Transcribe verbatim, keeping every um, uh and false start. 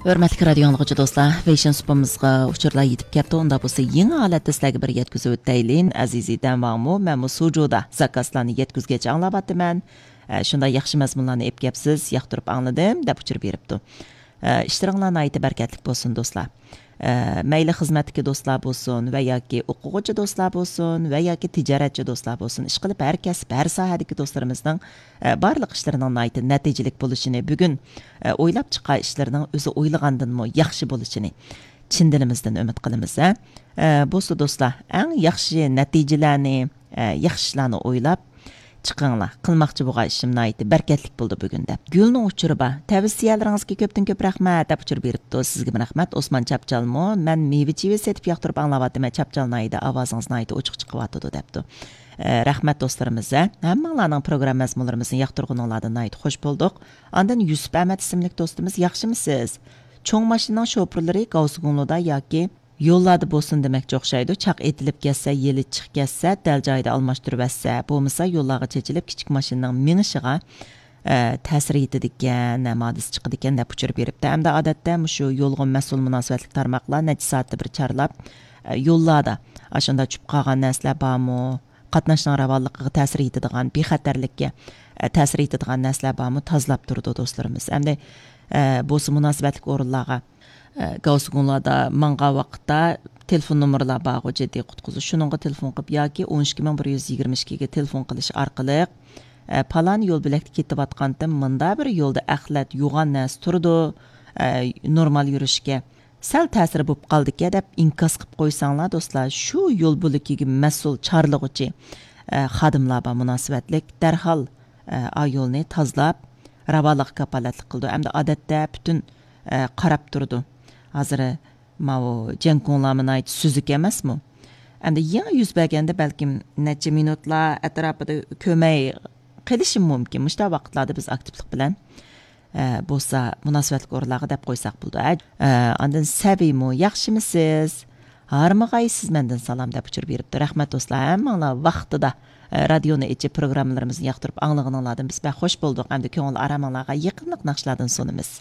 ھۆرمەتلىك رادىيو ئاڭلىغۇچى دوستلار، فېشن سۇپىمىزغا ئۇچۇرلار يېتىپ كەپتۇ. ئۇنداق بولسا يېڭى ھالەتتە سىلەرگە بىر يەتكۈزۈۋۆتەيلى. ئەزىزى دەمۋاڭمۇ، مەنمۇ سۇجۇدا زاكازلارنى يەتكۈزگەچ ئاڭلاۋاتىمەن. ئە، شۇنداق ياخشى مەزمۇنلارنى ئېلىپ كەپسىز، ياقتۇرۇپ ئاڭلىدىم، دەپ ئۇچۇر بېرىپتۇ. ئە، ئىشلىرىڭلار ناھايىتى بەرىكەتلىك بولسۇن، دوستلار. ئە، مەيلى خىزمەتتىكى دوستلار بولسۇن ۋە ياكى ئوقۇغۇچى دوستلار بولسۇن ۋە ياكى تىجارەتچى دوستلار بولسۇن، ئىشقىلىپ ھەر كەسىپ، ھەر ساھەدىكى دوستلىرىمىزنىڭ، ئە، بارلىق ئىشلىرىنىڭ ناھايىتى نەتىجىلىك بولۇشىنى، بۈگۈن، ئە، ئويلاپ چىققان ئىشلىرىنىڭ ئۆزى ئويلىغاندىنمۇ ياخشى بولۇشىنى چىن دىلىمىزدىن ئۈمىد قىلىمىز، ھە. ئە، بولسا دوستلار، ئەڭ ياخشى نەتىجىلەرنى، ئە، ياخشى ئىشلارنى ئويلاپ چىقىڭلار، قىلماقچى بولغان ئىشىم ناھايىتى بەرىكەتلىك بولدى بۈگۈن، دەپ. گۈلنىڭ ئۇچۇرى بار. تەۋسىيەلىرىڭىزگە كۆپتىن كۆپ رەھمەت، دەپ ئۇچۇر بېرىپتۇ. سىزگىمۇ رەھمەت، ئوسمان چاپچالمۇ. مەن مېۋە چېۋە سېتىپ ياقتۇرۇپ ئاڭلاۋاتىمەن، چاپچال ناھىيىدە ئاۋازىڭىز ناھايىتى ئوچۇق چىقىۋاتىدۇ، دەپتۇ. ئە، رەھمەت دوستلىرىمىز، ھە. ھەممىڭلارنىڭ پروگرامما مەزمۇنلىرىمىزنى ياقتۇرغىنىڭلاردىن ناھايىتى خوش بولدۇق. ئاندىن يۈسۈپ ئەمەت ئىسىملىك دوستىمىز، ياخشىمۇسىز؟ چوڭ ماشىنىنىڭ شوپۇرلىرى گاۋسىگۇڭلۇدا ياكى يوللاردا بولسۇن دېمەكچى ئوخشايدۇ. چاق ئېتىلىپ كەتسە، يىلى چىق كەتسە، دەل جايىدا ئالماشتۇرۇۋەتسە، بولمىسا يوللارغا چېچىلىپ، كىچىك ماشىنىنىڭ مېڭىشىغا، ئە، تەسىر يېتىدىكەن، ھەم ھادىسە چىقىدىكەن، دەپ ئۇچۇر بېرىپتۇ. ھەمدە ئادەتتە مۇشۇ يولغا مەسئۇل مۇناسىۋەتلىك تارماقلار نەچچە سائەتتە بىر چارلاپ، ئە، يوللاردا ئاشۇنداق چۈشۈپ قالغان نەرسىلەر بارمۇ، قاتناشنىڭ راۋانلىقىغا تەسىر يېتىدىغان، بىخەتەرلىككە، ئە، تەسىر يېتىدىغان نەرسىلەر بارمۇ، تازىلاپ تۇرىدۇ دوستلىرىمىز. ئەمدى، ئە، بولسا مۇناسىۋەتلىك ئورۇنلارغا، ئە، گاۋسىگۇڭلاردا ماڭغان ۋاقىتتا تېلېفون نومۇرلار بارغۇ، جىددىي قۇتقۇزۇش. شۇنىڭغا تېلېفون قىلىپ ياكى ئون ئىككى مىڭ بىر يۈز يىگىرمە ئىككىگە تېلېفون قىلىش ئارقىلىق، ئە، پالان يول بۆلەكتە كېتىۋاتقانتىم، مۇندا بىر يولدا ئەخلەت، يوغان نەرسە تۇرىدۇ، ئە، نورمال يۈرۈشكە سەل تەسىر بولۇپ قالدىكەن دەپ ئىنكاس قىلىپ قويساڭلار، دوستلار، شۇ يول بۆلىكىگە مەسئۇل چارلىغۇچى، ئە، خادىملار بار مۇناسىۋەتلىك، دەرھال، ئە، ئا يولنى تازىلاپ، راۋانلىققا كاپالەتلىك قىلىدۇ. ئەمدى ئادەتتە پۈتۈن، ئە، قاراپ تۇرىدۇ. ھازىر ماۋۇ جيەنگۇڭلارمۇ ناھايىتى سۈزۈك ئەمەسمۇ؟ ئەمدى يېڭى يۈز بەرگەندە بەلكىم نەچچە مىنۇتلا ئەتراپىدا كۆرمەي قېلىشىمۇ مۇمكىن. مۇشۇنداق ۋاقىتلاردا بىز ئاكتىپلىق بىلەن ئە، بولسا مۇناسىۋەتلىك ئورۇنلارغا دەپ قويساق بولىدۇ. ئە، ئە، ئاندىن سەبىيمۇ، ياخشىمۇسىز؟ ھارمىغايسىز مەندىن سالام، دەپ ئۇچۇر بېرىپتۇ. رەھمەت دوستلار، ھەممىڭلار ۋاقتىدا، ئە، رادىيونى ئېچىپ پروگراممىلىرىمىزنى ياقتۇرۇپ ئاڭلىغىنىڭلاردىن بىز بەك خوش بولدۇق. ئەمدى كۆڭۈل ئارامىڭلارغا يېقىملىق ناخشىلاردىن سۇنىمىز.